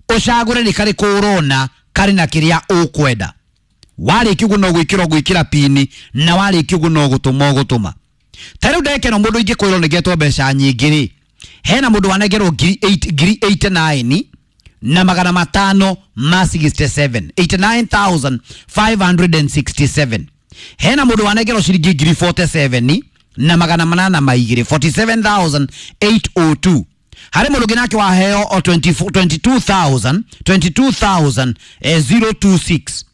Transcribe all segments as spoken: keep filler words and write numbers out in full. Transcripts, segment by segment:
Ũcagũre nĩ karĩkũ ũrona karĩ na kĩrĩa ũkwenda. Warĩkia ũguo no gwĩkĩra ũgwĩkĩra pini, na warĩkia ũguo no gũtũma ũgũtũma. Ta rĩu ndagĩka ĩno mũndũ ingĩkwĩrwo nĩngetwo mbeca nyingĩ rĩ, hena mũndũ wanengerwo ngiri eight, ngiri eighty-nine na magana matano ma sixty-seven, eighty-nine thousand five hundred sixty-seven. Hena mũndũ wanengerwo ciringi ngiri forty-seven na magana manana ma igĩrĩ, forty-seven thousand eight oh two. Harĩ mũndũ ũngĩ nake waheo o twenty-four, twenty-two thousand, twenty-two thousand, eh, zero two six,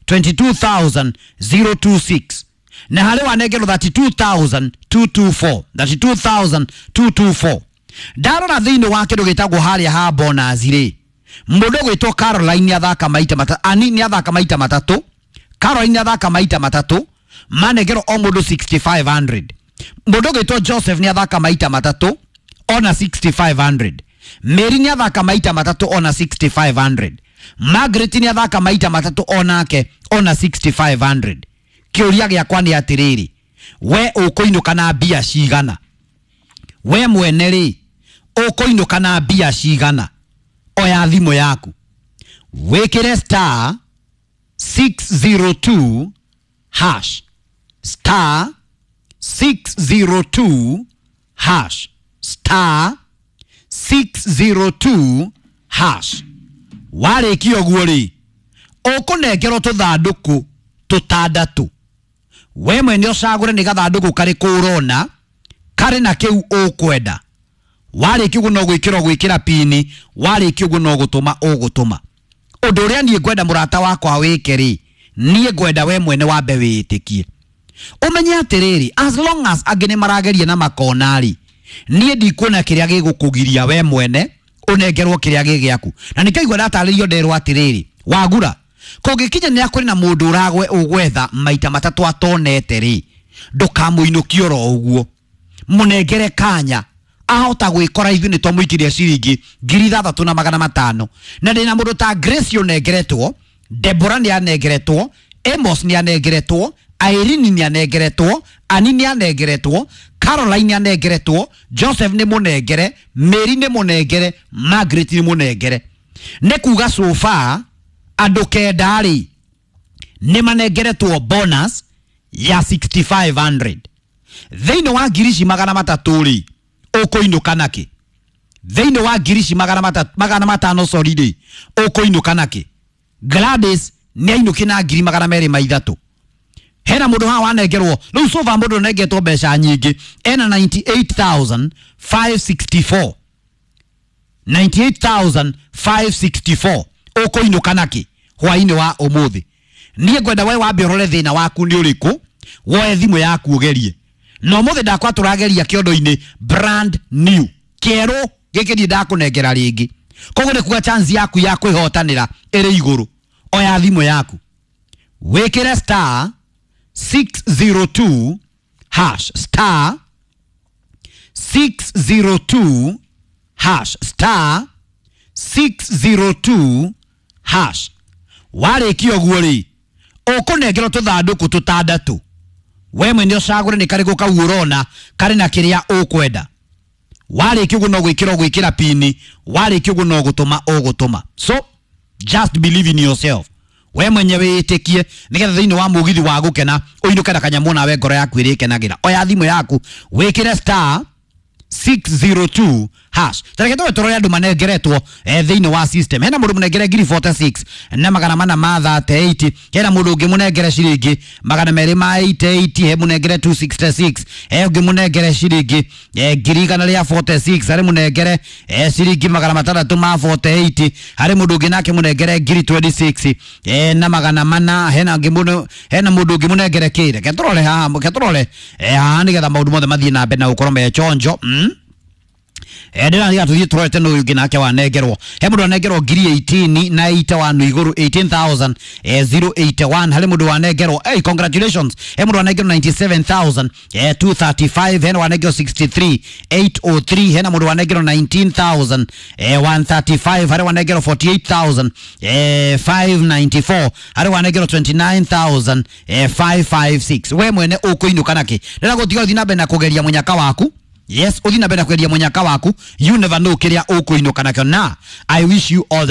twenty-two thousand zero two six. Na harĩ wanengerwo thirty-two thousand two two four, thirty-two thousand two two four. Ndarora thĩinĩ wa kĩndũ gĩtagwo harĩa ha bonus rĩ, mũndũ ũgwĩtwo Caroline nĩathaka maita matatũ, Ani nĩathaka maita matatũ, Caroline nĩathaka maita matatũ, manengerwo o mũndũ sixty-five hundred. Mũndũ ũgwĩtwo Joseph nĩathaka maita matatũ ona sixty-five hundred. Mary nĩathaka maita matatũ ona sixty-five hundred. Margaret nĩathaka maita matatũ onake ona sixty-five hundred. Kĩũria gĩakwa nĩ atĩrĩrĩ, we ũkũinũka na mbia cigana? We mwene rĩ, ũkũinũka na mbia cigana? Oya thimũ yaku wĩkĩre star six zero two hash, star six zero two hash, star six zero two hash. Warĩkia ũguo rĩ, ũkũnengerwo tũthandũkũ tũtandatũ. We mwene ũcagũre nĩ gathandũkũ karĩkũ ũrona karĩ na kĩu ũkwenda. Warĩkia ũguo no gwĩkĩra ũgwĩkĩra pini, warĩkia ũguo no gũtũma ũgũtũma. Ũndũ ũrĩa niĩ ngwenda mũrata wakwa wĩke rĩ, niĩ ngwenda we mwene wambe wĩĩtĩkie. Ũmenye atĩrĩrĩ, as long as angĩ nĩ marageria na makona rĩ, niĩ ndikuona kĩrĩa gĩgũkũgiria we mwene ũnengerwo kĩrĩa gĩ gĩaku. Na nĩkĩo ndatarĩrio nderwo atĩrĩrĩ, wagura kũngĩkinya nĩ akũrĩ na mũndũ ũragwe ũgwetha maita matatũ atonete rĩ, ndũkamũinũkie oro ũguo, mũnengere kanya ahota gwĩkora ithuĩ nĩ twamũikĩria ciringi ngiri ithathatũ na magana matano. Na ndĩna mũndũ ta Grace ũnengeretwo, Deborah nĩ anengeretwo, Amos nĩ anengeretwo, Irene nĩ anengeretwo, Annie nĩ anengeretwo, Caroline nĩ anengeretwo, Joseph nĩ mũnengere, Mary nĩ mũnengere, Margaret nĩ mũnengere. Nĩ kuga so far andũ kenda rĩ nĩ manengeretwo bonus ya sixty-five hundred. Thĩinĩ wa ngiri ici magana matatũ rĩ, ũkũinũka nakĩ? Thĩinĩ wa ngiri ici magana matatũ, magana matano sorry rĩ, ũkũinũka nakĩ? Gladys nĩ ainũki na ngiri magana merĩ ma ithatũ. Hena mũndũ haha wanengerwo, rĩu so far mũndũ ũnengetwo mbeca nyingĩ ena ninety-eight thousand five sixty-four. ninety-eight thousand five sixty-four. Ũkũinũka nakĩ hwainĩ wa ũmũthĩ? Niĩ ngwenda we wambe ũrore thĩna waku nĩ ũrĩkũ, woe thimũ yaku ũgerie. Na ũmũthĩ ndakwa tũrageria kĩondo-inĩ brand new kĩerũ gĩkĩ ndiĩ ndakũnengera rĩngĩ. Koguo nĩ kuga chance yaku ya kwĩhotanĩra ĩrĩ igũrũ. Oya thimũ yaku wĩkĩre star six zero two hash, star six zero two hash, star six zero two hash. Warĩkia ũguo rĩ, ũkũnengerwo tũthandũkũ tũtandatũ. We mwene ũcagũre nĩ karĩkũ kau ũrona karĩ na kĩrĩa ũkwenda. Warĩkia ũguo no gwĩkĩra ũgwĩkĩra pini, warĩkia ũguo no gũtũma ũgũtũma. So just believe in yourself. We mwenye wĩĩtĩkie nĩgetha thĩinĩ wa mũgithi wa gũkena ũinũke na kanyamũ nawe ngoro yaku ĩrĩkenagĩra. Oya thimũ yaku wĩkĩre star six zero two hash. Tareke tũwe tũrore andũ manengeretwo, eh, thĩinĩ wa system. Hena mũndũ mũnengere ngiri forty-six na magana mana ma thirty-eight. Hena mũndũ ũngĩ mũnengere ciringi magana merĩ ma eighty-eight. He mũnengere two sixty-six. He ũngĩ mũnengere ciringi, eh, ngiri igana rĩa forty-six. Harĩ mũnengere, eh, ciringi magana matandatũ ma forty-eight. Harĩ mũndũ ũngĩ nake mũnengere ngiri twenty-six, eh, na magana mana. Hena ũngĩ mũndũ, hena mũndũ ũngĩ mũnengere kĩ? Reke tũrore haha, reke tũrore, eh, haha nĩgetha maũndũ mothe mathiĩ na mbere na gũkorwo me chonjo. Mm? Eh, ndĩratiga tũthiĩ tũrorete nũ ũngĩ nake wanengerwo. He mũndũ wanengerwo ngiri eighteen na eighty one igũrũ, eighteen thousand, eh, zero eighty one. Harĩ mũndũ wanengerwo, hey, congratulations. He mũndũ wanengerwo ninety-seven thousand, eh, two thirty-five. Hena wanengerwo sixty-three, eight oh three. Hena mũndũ wanengerwo nineteen thousand, eh, one thirty-five. Harĩ wanengerwo forty-eight thousand, eh, five ninety-four. Harĩ wanengerwo twenty-nine thousand, eh, five five six. We mwene ũkũinũka nakĩ? Ndĩragũtiga ũthiĩ na mbere na kũgeria mũnyaka waku. Yes, uthi na mbere na kwendia munyaka waku. You never know kiria ukuinuka nakio. Na I wish you all the